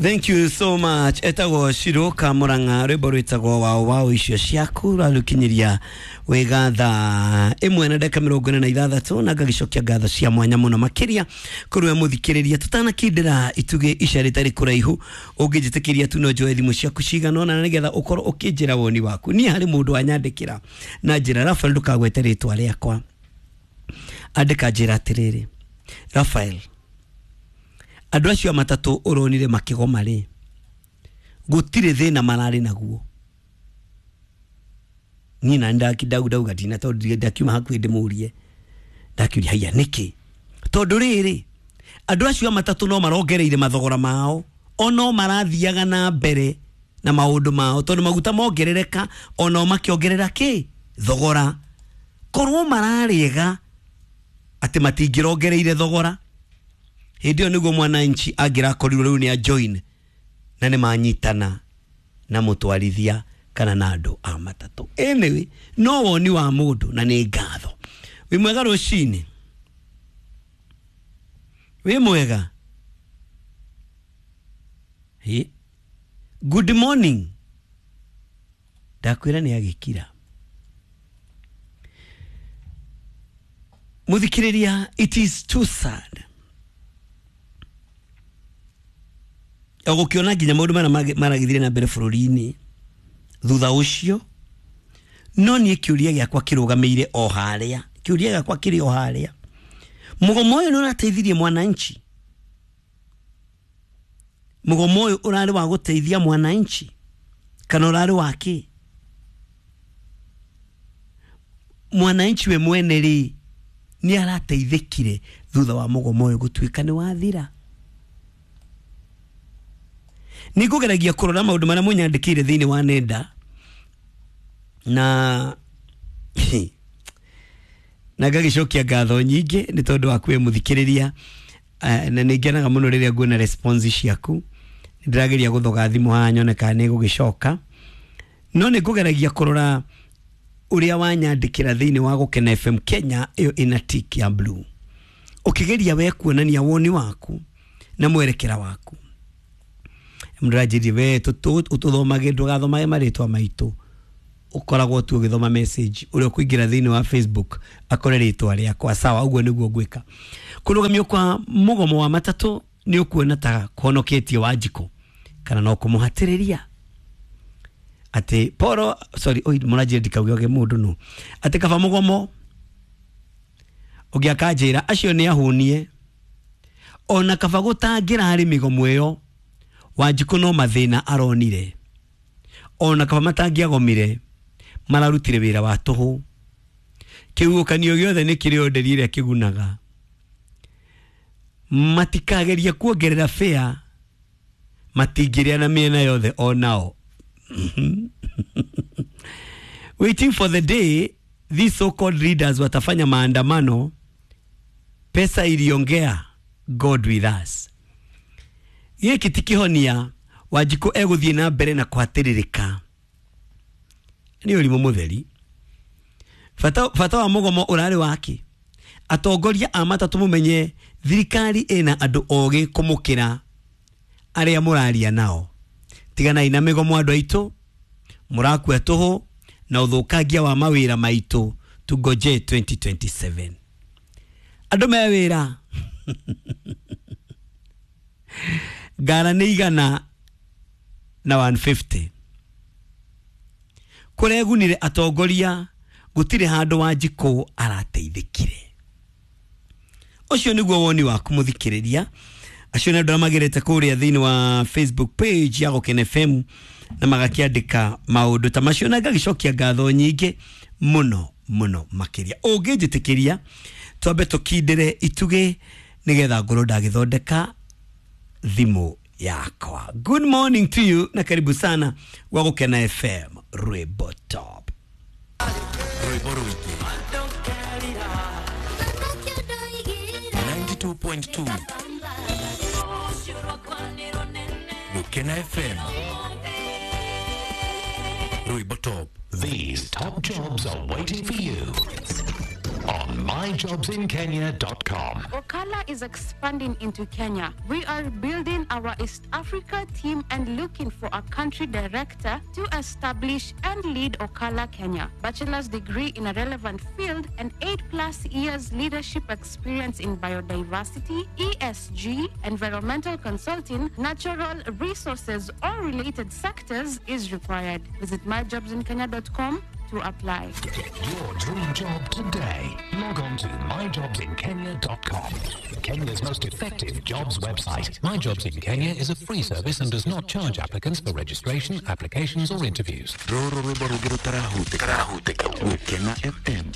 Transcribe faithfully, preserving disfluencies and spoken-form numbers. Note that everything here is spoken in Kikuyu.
Thank you so much. Etagwo Shiroka Murang'a rwimbo rwitagwo wao wao icio ciaku rarukinyiria wega thaa ĩmwe na ndagĩka mĩrongo ĩna na ithathatũ na ngagicokia ngatho cia mwanya mũno makĩria kũrĩ we mũthikĩrĩria tũtanakindĩra itugĩ ica rĩtarĩ kũraihu ũngĩnjĩtĩkĩria tu no njoe thimũ ciaku cigana ũna nĩgetha ũkorwo ũkĩnjĩra woni waku. Niĩ harĩ mũndũ wanyandĩkĩra na njĩra Rafael ndũkagwete rĩtwa rĩakwa, andĩka njĩra atĩrĩrĩ, Rafael, andũ acio a matatũ ũronire makĩgoma rĩ, gũtirĩ thĩna mararĩ naguo. Niĩ na ndauga ndina tondũ ndakiuma hakuhĩ ndĩmũrie, ndakiuria haiya nĩkĩ? Tondũ rĩrĩ andũ acio a matatũ no marongereire mathogora mao, ono marathiaga na mbere na maũndũ mao tondũ maguta mongerereka ono makĩongerera kĩ thogora. Korwo mararĩega atĩ matingĩrongereire thogora, hĩndĩ ĩyo nĩguo mwananchi angĩrakorirwo rĩu nĩ a join na nĩ manyitana na mũtwarithia kana na andũ a matatũ. Anyway, no woni wa mũndũ na nĩ ngatho. Wĩ mwega rũcinĩ? Wĩ mwega? Hey. Good morning. Ndakwĩra nĩ agĩkira. Mũthikĩrĩria, it is too sad. Ũgũkĩona nginya maũndũ marĩa maragĩthire na mbere bũrũri-inĩ thutha ũcio, no niĩ kĩũria gĩakwa kĩrũgamĩire o harĩa, kĩũria gĩakwa kĩrĩ o harĩa. Mũgomo ũyũ nĩ ũrateithirie mwananchi? Mũgomo ũyũ ũrarĩ wa gũteithia mwananchi kana ũrarĩ wa kĩ? Mwananchi we mwene rĩ nĩ arateithĩkire thutha wa mũgomo ũyũ gũtuĩka nĩ wathira? Nĩ ngũgeragia kũrora maũndũ marĩa mũnyandĩkĩire thĩinĩ wa nenda na na ngagĩcokia ngatho nyingĩ nĩ tondũ wa kwĩ mũthikĩrĩria, na nĩ ngenaga mũno rĩrĩa nguona response ciaku. Nĩ ndĩrageria gũthoga thimũ haha nyone kana nĩ ĩgũgĩcoka, no nĩ ngũgeragia kũrora ũrĩa wanyandĩkĩra thĩinĩ wa Gũkena F M Kenya ĩyo ĩna tick ya blue, ũkĩgeria we kuonania woni waku na mwerekera waku. Mũndũ we ũtũthomage ndũgathomage marĩtwa maitũ, ũkoragwo tu ũgĩthoma message ũrĩa ũkũingĩra thĩinĩ wa Facebook akore rĩtwa rĩakwa. Sawa, ũguo nĩguo ngwĩka. Kũrũgamio kwa mũgomo wa matatũ nĩ ũkuona ta kũhonoketie Wanjikũ kana no kũmũhatĩrĩria atĩ poro sorry oi mũranjĩra ndikauge mũndũ no atĩ kaba mũgomo ũngĩ akanjĩra acio nĩ ahũnie, ona kaba gũtangĩra harĩ mĩgomo ĩyo Wanjikũ no mathĩna aronire, ona kaba matangĩagomire mararutire wĩra wa tũhũ. Kĩhuhũkanio gĩothe nĩ kĩrĩ nderi ĩrĩa kĩgunaga. Matikageria kuongerera fare, matingĩrĩa na mĩena yothe onao. Waiting for the day these so-called leaders watafanya maandamano, pesa iliongea, God with us. Gĩkĩ ti kĩhonia, Wanjikũ egũthiĩ na mbere na kũhatĩrĩrĩka. Nĩ ũrimũ mũtheri. Bata, bata wa mũgomo ũrarĩ wake? Atongoria a matatũ mũmenye thirikari ĩna andũ ogĩ kũmũkĩra arĩa mũraria nao. Tiganai na mĩgomo andũ aitũ, mũrakua tũhũ na ũthũkangia wa mawĩra maitũ. Tungoje twenty twenty-seven. Andũ me wĩra. Ngara nĩ igana na one fifty. Kũregunire atongoria gũtirĩ handũ Wanjikũ arateithĩkire. Ũcio nĩguo woni waku mũthikĩrĩria. Acio nĩ andũ arĩa magerete kũrĩa thĩinĩ wa Facebook page ya Gũkena F M na magakĩandĩka maũndũ ta macio na ngagĩcokia ngatho nyingĩ mũno mũno makĩria. Ũngĩnjĩtĩkĩria twambe tũkindĩre itugĩ nĩgetha ngorwo ndagĩthondeka thimũ yakwa. Good morning to you na karibu sana gwa Gũkena F M Rwimbo Top. Rwimbo rwingĩ ninety-two point two Gũkena F M Rwimbo Top. These top jobs are waiting for you on on my jobs in kenya dot com. Okala is expanding into Kenya. We are building our East Africa team and looking for a country director to establish and lead Okala Kenya. Bachelor's degree in a relevant field and eight plus years leadership experience in biodiversity, E S G, environmental consulting, natural resources or related sectors is required. Visit my jobs in kenya dot com to apply. Get your dream job today. Log on to my jobs in kenya dot com. Kenya's most effective jobs website. My Jobs in Kenya is a free service and does not charge applicants for registration, applications or interviews. Rũrũ rwĩmbo rũngĩ rũtarahutĩka. Gũkena F M.